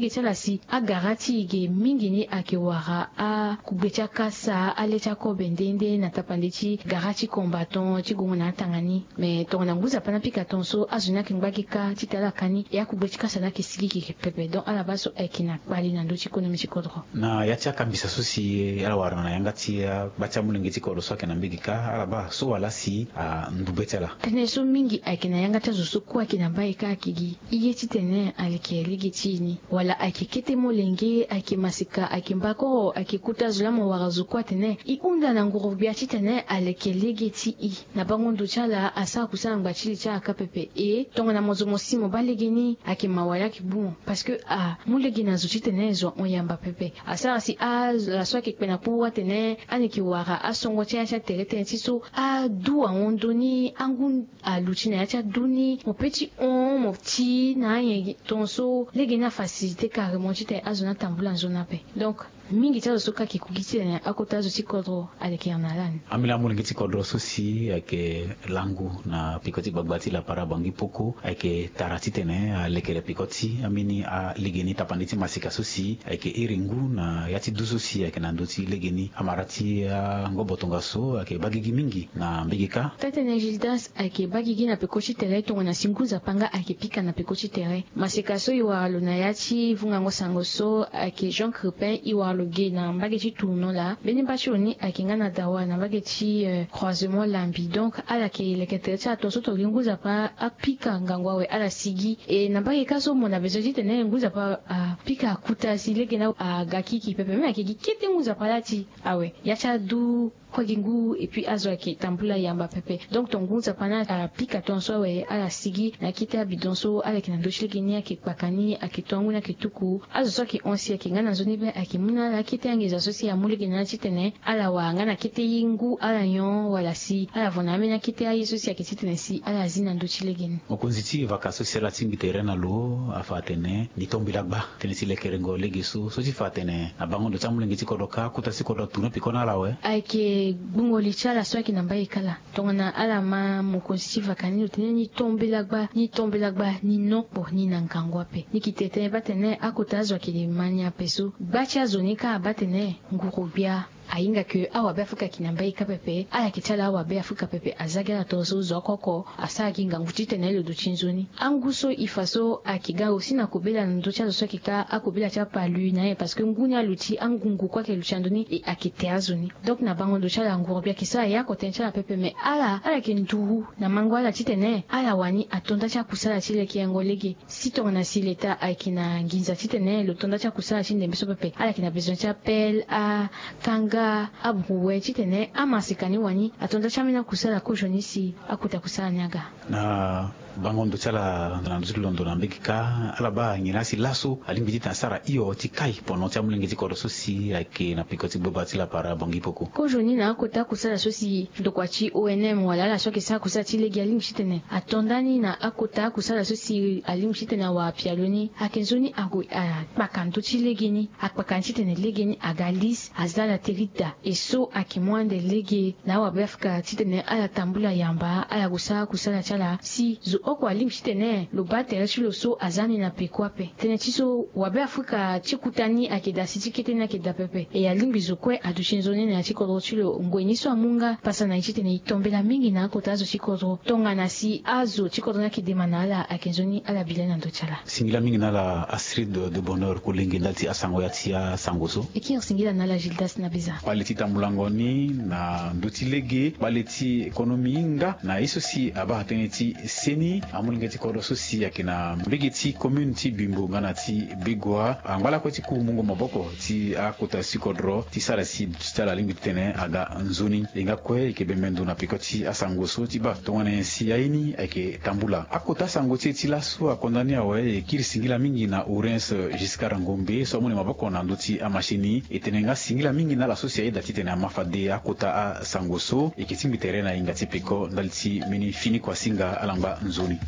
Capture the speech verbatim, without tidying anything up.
Ge ti ala si agara ti e ge mingi ni ayeke wara akugbe ti akasa, ale ti akobe nde nde na tapande ti gara ti combattant ti gongo na atanga ni. Me tongana ngu nzapa ni apika tongaso, azo ni ayeke ngba ge kâ titene ala ka ni, e akugbe ti kasa ni ayeke sigi gigi pepe. Donc ala baa so ayeke na kpali na ndö ti konomi ti kodro. Na ya ti akambisa so si ala wara na yanga ti agba ti amolenge ti kodro so ayeke na mbege kâ, ala baa so wala si andu be ti ala. Tënë so mingi ayeke na yanga ti azo so kue ayeke na mbai kâ ayeke gi ye titene aleke lege ti e ni. Wala ayeke kete molenge, ayeke maseka, ayeke mbakoro, ayeke kota zo laa mo wara zo kue atene e hunda na nguru-gbia titene aleke lege ti e. Na bango ndo ti ala asara kusä na ngba ti li ti ala kâ pepe. E tongana mo zo mo si mo baa lege ni, ayeke mawa laa ayeke gbu mo. Parce que amu lege na zo titene zo ahon yamba pepe. Asara si ala so ayeke kpe na kpuru atene ala yeke wara asongo ti ala ti atere tënë ti so adu ahon ndö ni, angu aluti na ya ti adu ni, mo pe ti hon mo ti na anyen tongaso lege ni afasilite carrément titene azo ni atambula nzoni ape. Donc mingi ti azo so kâ ayeke ku gi titene akota azo ti kodro aleke na ala ni. Ambeni amolenge ti kodro so si ayeke langu na peko ti gbagba ti lapara Bangui Poko ayeke tara titene alekere peko ti ambeni alege ni tapande ti maseka so si ayeke iri ngu na ya ti du so si ayeke na ndö ti lege ni. Amara ti angobo tongaso ayeke baa gigi mingi na mbege kâ. Tëtene Gildas ayeke baa gigi na peko ti tere tongana si ngu nzapa nga ayeke pika na peko ti tere. Maseka so e wara lo na ya ti vungango sango so ayeke Jean Crepin, e wara lo ge na mbage ti tournant laa. Mbeni mba ti lo ni ayeke nga na dawa na mbage ti, euh, croisement Lambi. Donc ala yeke leke tere ti ala tongaso tongana gi ngu nzapa apika ngangu awe ala sigi. E na mbage kâ so mo na bezoin titene ngu nzapa apika akuta si lege ni aga kiki pepe. Me ayeke gi kete ngu nzapa laa ti awe ya ti adu kue gi ngu, et puis azo ayeke tambula yamba pepe. Donc tongana ngu nzapa ni apika tongaso awe ala sigi na kete abidon so ala yeke na ndö ti lege ni ayeke kpaka ni, ayeke to angu ni ayeke tuku. Azo so ayeke hon si ayeke nga na nzoni be ayeke mu na ala akete anginza so si amu lege na ala titene ala wara nga na kete ye ngu ala nyon wala si ala vo na ambeni akete aye so si ayeke titene si ala zi na ndö ti lege ni. Mokonzi ti vaka so si ala tingbi tere na lo afa atene ni tombela gba tënë ti lekerengo lege so, so ti fa atene na bango ndo ti amolenge ti kodro kâ, kota ti kodro atourne peko na ala awe. Ayeke gbungo li ti ala so ayeke na mbai kâ laa. Tongana ala ma mokonzi ti vaka ni lo tene ni tombela gba, ni tombela gba, ni nokpo, ni na ngangu ape. Ni yeke tene tënë baa tene akota azo ayeke ma ni ape so. Gba ti azo ni kâ abaa tene nguru-gbia ahinga ke awabe Afrika ayeke na mbage kâ pepe, ala yeke ti ala awabe Afrika pepe, aza gi ala tongaso zo oko oko asara gi ngangu titene lo duti nzoni. Angu so e fa so ayeke ga aussi na kobela na ndö ti azo so ayeke kâ akobela ti apalu na aye parce que ngu ni aluti, angungu kue ayeke luti na ndö ni, e ayeke te azo ni. Donc na bango ndo ti ala nguru-gbia ayeke sara ya oko tënë ti ala pepe, me ala, ala yeke nduru na mango ala titene ala wani ato nda ti akusala ti lekerengo lege. Si tongana si leta ayeke na nginza titene lo to nda ti akusala ti ndembe so pepe, ala yeke na bezoin ti apelle, akanga, abrouet titene amaseka ni wani ato nda ti ambeni akusala kozoni si akota kusala ni aga. Na bango ndo ti ala na ndö ti londo na mbege kâ, ala baa nyen laa si laso alingbi titene asara hio ti kai pono ti amolenge ti kodro so si ayeke na peko ti gbagba ti lapara Bangui Poko. Kozoni na akota akusala so si ndokua ti O N M wala ala so ayeke sara kusala ti lege alingbi titene ato nda ni na akota akusala so si alingbi titene awara pialo ni, ayeke nzoni ague akpaka ndö ti lege ni, akpaka ni titene lege ni aga lise, aza ala te ti da. E so ayeke mu ande lege na awabe Afrika titene ala tambula yamba, ala gue sara kusala ti ala si zo oko alingbi titene lo baa tere ti lo so aza ni na peko ape. Tënë ti so wabe Afrika ti kuta ni ayeke da si ti kete ni ayeke da pepe. E alingbi zo kue aduti nzoni na ya ti kodro ti lo. Ngoi ni so amu nga pasa na e titene e tombela mingi na akota azo ti kodro. Tongana si azo ti kodro ni ayeke dema na ala, ayeke nzoni ala bi le na ndö ti ala. Singila mingi na ala Astrid de Bonheur Kolenge ndali ti asango ya ti asango so. E kiri singila na ala Gildas na biza. Kpale ti tambulango ni na ndö ti lege, kpale ti économie nga na ye so si abaa tënë ti seni, amolenge ti kodro so si ayeke na mbege ti commune ti Bimbo nga na ti Begoua angba lakue ti ku mungo maboko ti akota ti kodro ti sara si ti ala alingbi titene aga nzoni. E nga kue e yeke bembe ndo na peko ti asango so ti baa tongana nyen si aye ni ayeke tambula. Akota asango ti e ti laso akonda ni awe, e kiri singila mingi na Urens Giscard Ngombe so amu na e maboko na ndö ti amasini. E tene nga singila mingi na ala so si ayeda titene ama fade akota asango so. E yeke tingbi tere na hinga ti peko ndali ti mbeni fini kuasinga, ala ngba nzoni.